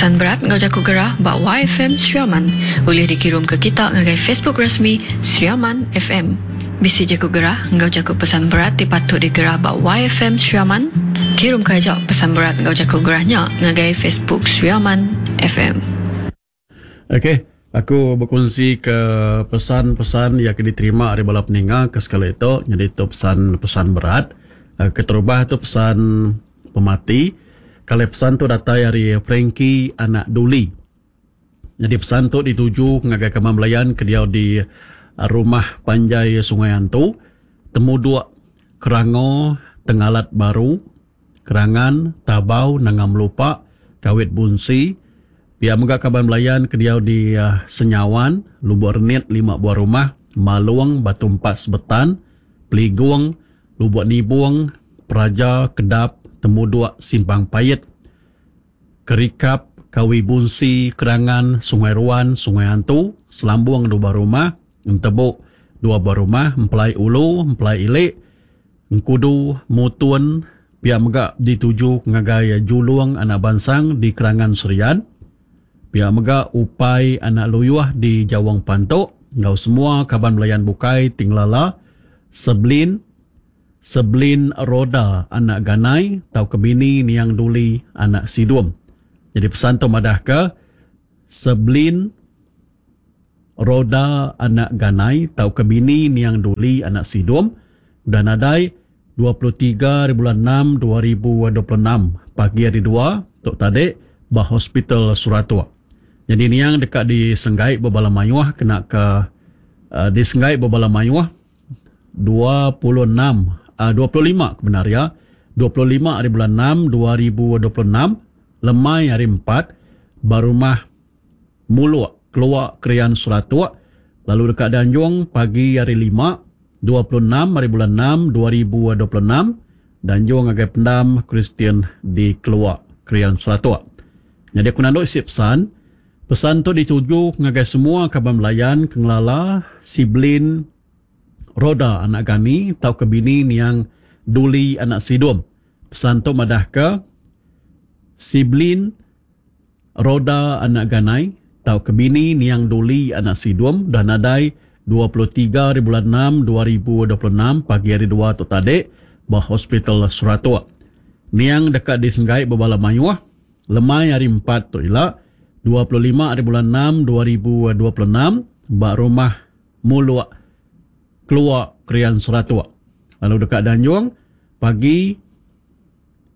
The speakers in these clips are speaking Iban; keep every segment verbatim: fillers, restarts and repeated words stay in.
Pesan berat enggau jaku gerah ba Y F M Sri Aman ulih dikirum ke kita ngagai Facebook resmi Sri Aman F M. Bisi jaku gerah enggau jaku pesan berat ti patut digerah ba Y F M Sri Aman? Kirum ke aja pesan berat enggau jaku gerahnya ngagai Facebook Sri Aman F M. Okey, aku berkongsi ke pesan-pesan yang diterima dari bala peninga ke sekali itu. Jadi itu pesan-pesan berat. Keterubah tu pesan pemati. Kalau pesan tu datai dari Frankie anak Duli. Jadi pesan tu dituju ngagai kaman belayan ke dia di rumah panjai Sungai Antu, Temuduk, Kerango, Tengalat Baru, Kerangan, Tabau, Nangam Lupa, Kawit Bunsi. Pia mega kaban belayan ke dia di Senyawan, Lubuk Renit lima buah rumah, Malung, Batu Empat Sebetan, Peligung, Lubuk Nibung, Peraja, Kedap, Temuduk, Simpang Pahit, Kerikap, Kawi Bunsi, Kerangan, Sungai Ruan, Sungai Antu, Selambung dua buah rumah, Entebuk dua buah rumah, Empelai Ulu, Empelai Ilik, Engkudu, Mutun. Pia mega dituju ngagai Julung anak Bansang di Kerangan Serian. Pia mega Upai anak Luyuh di Jawang Pantok, enggau semua kaban belayan bukai tinglala Seblin Seblin Roda anak Ganai tau ke bini Niang Duli anak Sidum. Jadi pesan tu madah ke Seblin Roda anak Ganai tau ke bini Niang Duli anak Sidum udah nadai dua puluh tiga hari bulan enam dua ribu dua puluh enam pagi hari dua tok tadi ba Hospital Suratok. Jadi niang dekat di Senggai bebala mayuh kena ke uh, di Senggai bebala mayuh dua puluh enam uh, dua puluh lima kebenar ya dua puluh lima hari bulan enam dua ribu dua puluh enam lemai hari empat ba rumah Muluk Keluak Krian Suratok, lalu dekat Danjung pagi hari lima dua puluh enam hari bulan enam dua ribu dua puluh enam Danjung ngagai pendam Kristian di Keluak Krian Suratok. Jadi aku nanduk isi pesan. Pesan tu dituju ngagai semua kaban belayan kengelala Siblin Roda anak Gani tau ke bini Niang Duli anak Sidum. Pesan tu madah ke Siblin Roda anak Ganai tau ke bini Niang Duli anak Sidum dah nadai dua puluh tiga hari bulan enam dua ribu dua puluh enam pagi hari dua tu tadi ba Hospital Suratok. Niang dekat di Senggai bebala mayuh lemai hari empat tu ila dua puluh lima hari bulan enam dua ribu dua puluh enam ba rumah Muluk Keluak Krian Suratok. Lalu dekat Danjung pagi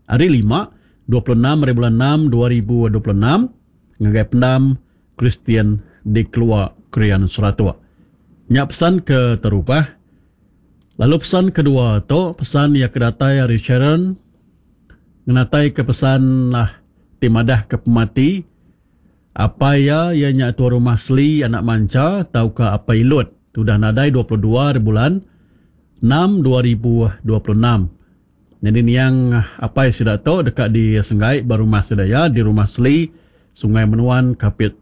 hari lima dua puluh enam hari bulan enam dua ribu dua puluh enam ngagai pendam Kristian di Keluak Krian Suratok. Nya pesan ke terubah. Lalu pesan kedua tu pesan yang kedatai hari Sharon ngenatai ke pesan lah ti madah ke pemati apa ya ia nya tua rumah Sli anak Manca tau ke apa ilut sudah nadai dua puluh dua hari bulan enam dua ribu dua puluh enam. Jadi niang apa sida tu dekat di Senggai ba rumah sedaya di rumah Sli Sungai Menuan Kapit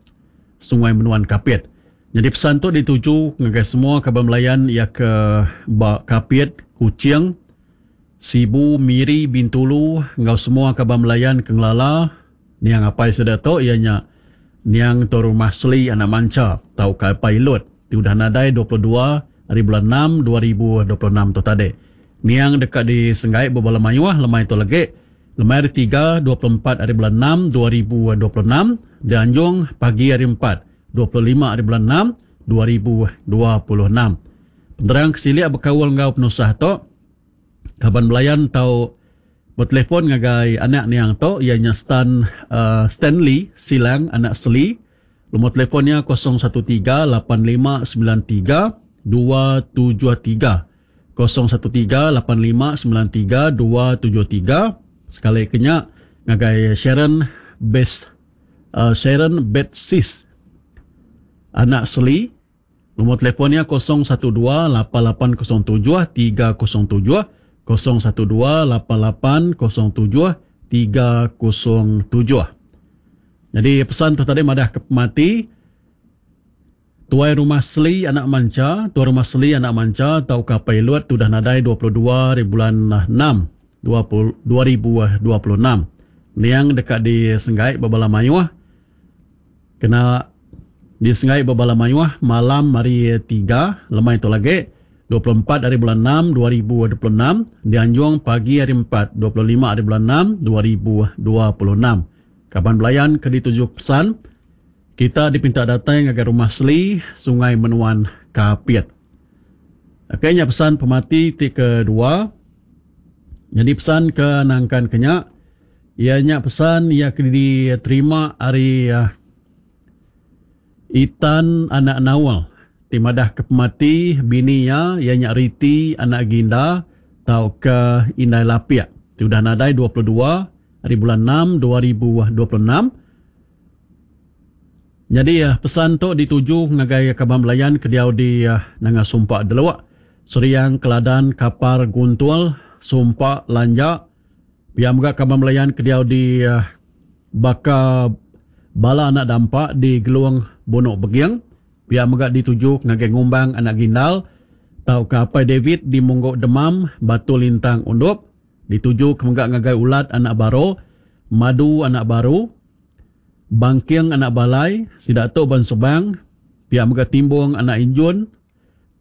Sungai Menuan Kapit. Jadi pesan tu dituju ngagai semua kaban belayan ia ke ba Kapit, Kuching, Sibu, Miri, Bintulu enggau semua kaban belayan ke ngelala niang apai sida tu ia nya niang tu rumah Sli anak Manca tau ke apai ilut ti udah nadai dua puluh dua hari bulan enam dua ribu dua puluh enam tu tadi. Niang dekat di Senggai bebala mayuh lemai tu lagi lemai hari tiga dua puluh empat hari bulan enam dua ribu dua puluh enam dianjung pagi hari empat dua puluh lima hari bulan enam dua ribu dua puluh enam. Penerang kesilik berkaul enggau penusah tu kaban belayan tau bertelefon ngagai anak niang tu ianya Stan uh, Stanley Silang anak Seli. Nombor telefonnya kosong satu tiga lapan lima sembilan tiga dua tujuh tiga. kosong satu tiga lapan lima sembilan tiga dua tujuh tiga. Sekali kenya ngagai Sharon Best uh, Sharon Betsis anak Seli. Nombor telefonnya kosong satu dua lapan lapan kosong tujuh tiga kosong tujuh. kosong satu dua lapan lapan kosong tujuh tiga kosong tujuh. Jadi pesan tu tadi madah ke pemati Tuai Rumah Seli anak Manca, Tuai Rumah Seli anak Manca tau ke pilot tu dah nadai dua puluh dua hari bulan enam dua ribu dua puluh enam. Niang dekat di Senggai bebala mayuh Kena disengai bebala mayuh malam hari tiga lemai tu lagi dua puluh empat hari bulan enam dua ribu dua puluh enam, dianjung pagi hari empat dua puluh lima hari bulan enam dua ribu dua puluh enam. Kaban belayan ke dituju pesan kita dipinta datang ngagai rumah Seli Sungai Menuan Kapit. Okey, nya pesan pemati ti kedua. Jadi pesan ke nangkan kenya, ia nya pesan ia ke diterima ari uh, Itan anak Nawal ti madah ke pemati bini iya, ia nya Riti anak Ginda tau ke Indai Lapiak ti udah nadai dua puluh dua hari bulan enam dua ribu dua puluh enam. Jadi pesan tu dituju ngagai kaban belayan ke diau di Nanga Sumpa Deluk, Seriang, Keladan, Kapar, Guntul, Sumpa, Lanja. Pia mega kaban belayan ke diau di baka bala anak dampak di Gelung Bunuk Beging. Pia mega dituju ngagai Ngumbang anak Gindal tau ke Apai David di Mungguk Demam, Batu Lintang Undup. Dituju ke mega ngagai Ulat anak Baro, Madu anak Baru, Bangking anak Balai, sida tu ban Sebang. Pia mega Timbung anak Injun,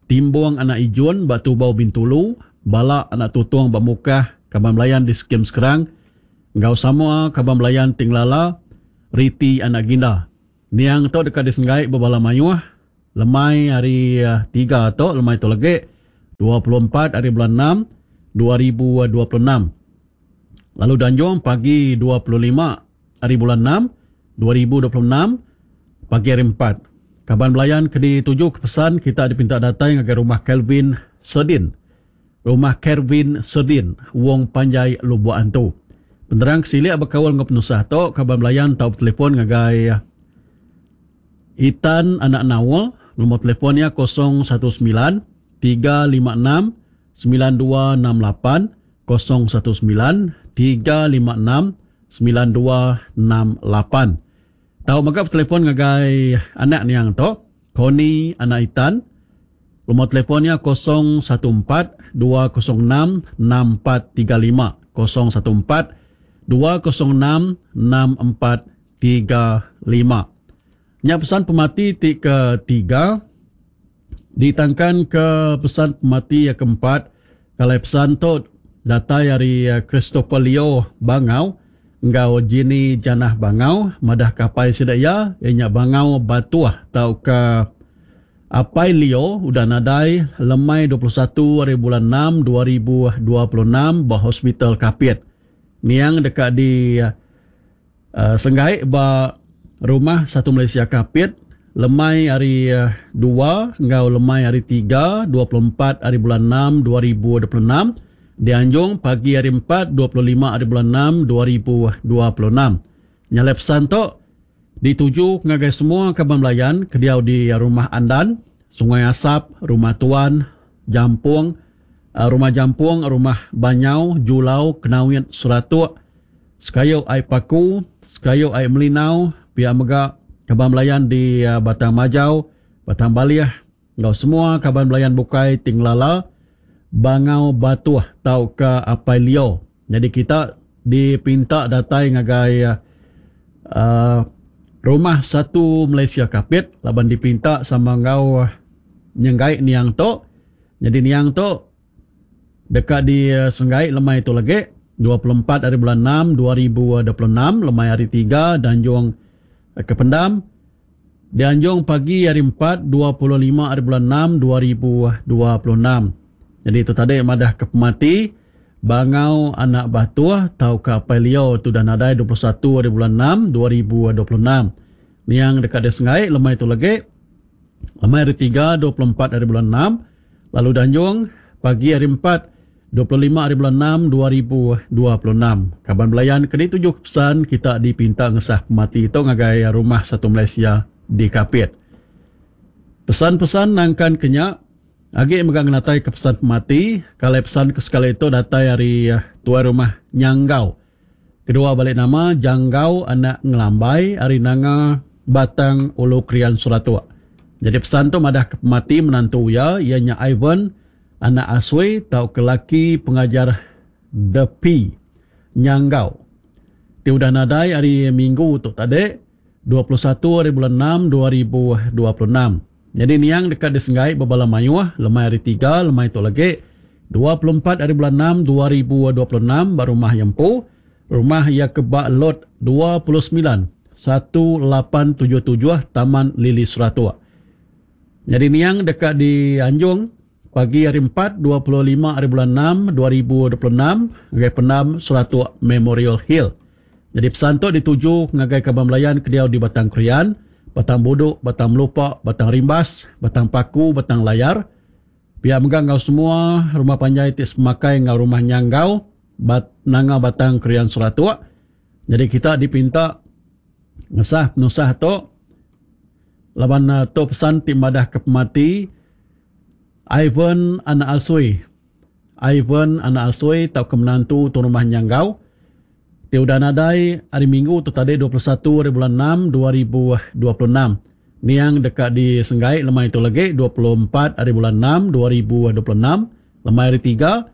Timbung anak Ijun Batu Bau Bintulu, Bala anak Tutong ba Mukah, kaban belayan di Skim Sekerang, enggau semua kaban belayan Tinglala, Riti anak Ginda. Niang tu dekat disenggai bebala mayuh lemai hari tiga tu, lemai tu lagi dua puluh empat hari bulan enam dua ribu dua puluh enam. Lalu danjung pagi dua puluh lima hari bulan enam dua ribu dua puluh enam pagi hari empat. Kaban belayan ke dituju ke pesan kita dipinta datang ngagai rumah Kelvin Serdin. Rumah Kelvin Serdin, Wong Panjai Lubuk Antu. Penerang kesilik berkaul dengan penusah tu, kaban belayan tau telefon ngagai Itan anak Nawal, nombor telefonnya kosong satu sembilan tiga lima enam sembilan dua enam lapan, kosong satu sembilan tiga lima enam sembilan dua enam lapan. Tau mega telefon ngagai anak niang tu, Koni anak Itan. Nombor telefonnya kosong satu empat dua kosong enam enam empat tiga lima, kosong satu empat dua kosong enam enam empat tiga lima. Nya pesan pemati ti ketiga ditangkan ke pesan pemati yang keempat. Kalau pesan tu datai dari Christopher Leo Bangau enggau Jini Janah Bangau madah kapai sida iya nya Bangau Batuah tau ke Apai Leo udah nadai lemai dua puluh satu hari bulan enam dua ribu dua puluh enam ba Hospital Kapit. Niang dekat di uh, Senggai ba Rumah Satu Malaysia Kapit lemai hari dua enggau lemai hari tiga dua puluh empat hari bulan enam dua ribu dua puluh enam, dianjung pagi hari empat dua puluh lima hari bulan enam dua ribu dua puluh enam. Nyalai pesan tu dituju ngagai semua kaban belayan ke diau di Rumah Andan, Sungai Asap, Rumah Tuan, Jampung, Rumah Jampung, Rumah Banyau, Julau, Kenawit, Seratuk, Sekayu Ai Paku, Sekayu Ai Melinau, pihak mega kaban belayan di Batang Majau, Batang Baliah, enggau semua kaban belayan bukai Tinglala, Bangau Batuah tau ke Apai Leo. Jadi kita dipinta datai ngagai uh, Rumah Satu Malaysia Kapit laban dipinta sama enggau nyenggai niang tu. Jadi niang tu dekat di Senggai lemai tu lagi dua puluh empat hari bulan enam dua ribu dua puluh enam lemai hari tiga danjung ke Pendam, dianjung pagi hari empat dua puluh lima hari bulan enam dua ribu dua puluh enam. Jadi itu tadi madah ke pemati Bangau anak Batuah tau ke Apai Leo tu dah nadai dua puluh satu hari bulan enam dua ribu dua puluh enam. Niang dekat dia Sengai lemai tu lagi lemai hari tiga dua puluh empat hari bulan enam, lalu danjung pagi hari empat dua puluh lima hari bulan enam dua ribu dua puluh enam. Kaban belayan kena tujuh pesan kita dipinta ngesah pemati itu ngagai Rumah Satu Malaysia di Kapit. Pesan-pesan nangkan kenyak agi mega ngenatai ke pesan pemati. Kalau pesan ke sekali itu datai hari tuai rumah Nyanggau. Kedua balik nama Janggau anak Ngelambai hari Nanga Batang Ulu Krian Suratuk. Jadi pesan tu madah ke pemati menantu ia, ianya Ivan anak Asui tau ke laki pengajar Depi Nyanggau. Ti udah nadai hari Minggu tu tadi dua puluh satu hari bulan enam dua ribu dua puluh enam. Jadi niang dekat disenggai bebala mayuh lemai hari tiga lemai tu lagi dua puluh empat hari bulan enam dua ribu dua puluh enam ba rumah Yempu, rumah ia ke ba lot dua puluh sembilan satu lapan tujuh tujuh Taman Lili Seratuk. Jadi niang dekat di Anjung pagi hari empat dua puluh lima hari bulan enam dua ribu dua puluh enam ngagai pendam Seratuk Memorial Hill. Jadi pesan tu dituju ngagai kaban belayan ke diau di Batang Krian, Batang Buduk, Batang Melupa, Batang Rimbas, Batang Paku, Batang Layar. Pihak mega ngau semua rumah panjai ti semakai ngau rumah Nyanggau, Bat Nanga Batang Krian Seratuk. Jadi kita dipinta ngesah penusah tu laban tu pesan ti madah ke pemati Ivan anak Asui. Ivan anak Asui tau ke menantu tu rumah Nyanggau. Ti udah nadai hari Minggu tu tadi dua puluh satu hari bulan enam dua ribu dua puluh enam. Niang dekat di Senggai lemai tu lagi dua puluh empat hari bulan enam dua ribu dua puluh enam lemai hari tiga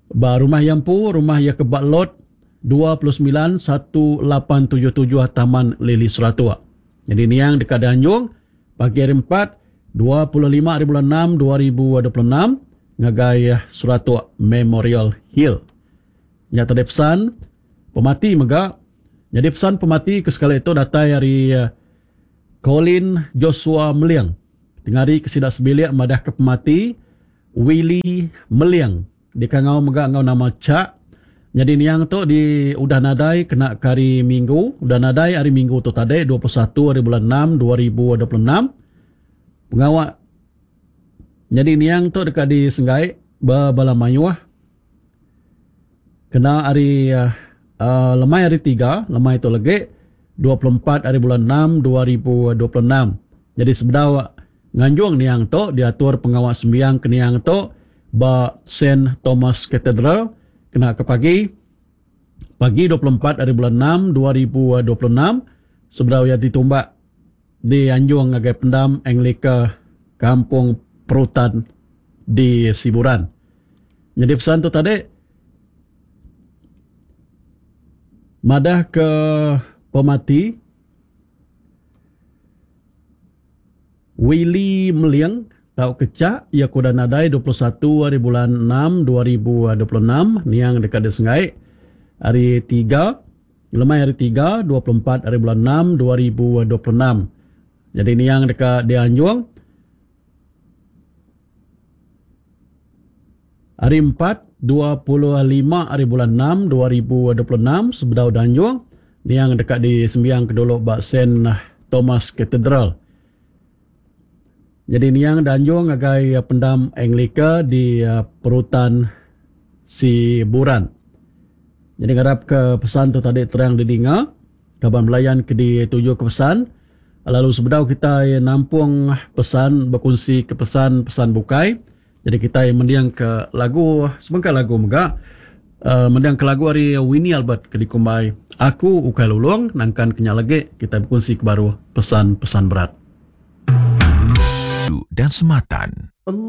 ba rumah Yampu, rumah ia ke bak lot dua puluh sembilan satu lapan tujuh tujuh Taman Lili Seratuk. Jadi niang dekat di Anjung pagi hari empat dua puluh lima hari bulan enam dua ribu dua puluh enam ngagai Seratuk Memorial Hill. Nya tadi pesan pemati mega. Jadi pesan pemati ke sekali itu datai hari Colin Joshua Meliang. Tengah hari ke sidak sebilik madah ke pemati Willie Meliang. Dikangau mega ngau nama Cak. Jadi niang tu di udah nadai kena ke hari Minggu, udah nadai hari Minggu tu tadi dua puluh satu hari bulan enam dua ribu dua puluh enam. Pengawak jadi niang tu dekat di Senggai bebala mayuh. Kena hari uh, lemai hari tiga, lemai tu lagi dua puluh empat hari bulan enam dua ribu dua puluh enam. Jadi sebedau nganjung niang tu diatur pengawak sembiang ke niang tu ba Saint Thomas Cathedral kena ke pagi pagi dua puluh empat hari bulan enam dua ribu dua puluh enam sebedau ia ditumbak di Anjung ngagai pendam Anglika Kampung Perutan di Siburan. Jadi pesan tu tadi madah ke pemati Willie Meliang tau kecak ia kuda nadai dua puluh satu hari bulan enam dua ribu dua puluh enam niang dekat di Sengai hari tiga lemai hari tiga dua puluh empat hari bulan enam dua ribu dua puluh enam. Jadi niang dekat di Anjung hari empat dua puluh lima hari bulan enam dua ribu dua puluh enam sebedau Danjung niang dekat di Sembiang Keduluk bak Saint Thomas Cathedral. Jadi niang Danjung ngagai pendam Anglika di Perutan Siburan. Jadi ngarap ke pesan tu tadi terang didinga kaban belayan ke dituju ke pesan. Lalu sebedau kita nampung pesan berkongsi ke pesan-pesan bukai. Jadi kita mendiang ke lagu sebengkah lagu mega uh, mendiang ke lagu hari Winnie Albert ke dikumbai Aku Ukai Lulung nangkan kenyal lagi kita berkongsi ke baru pesan-pesan berat dan sematan.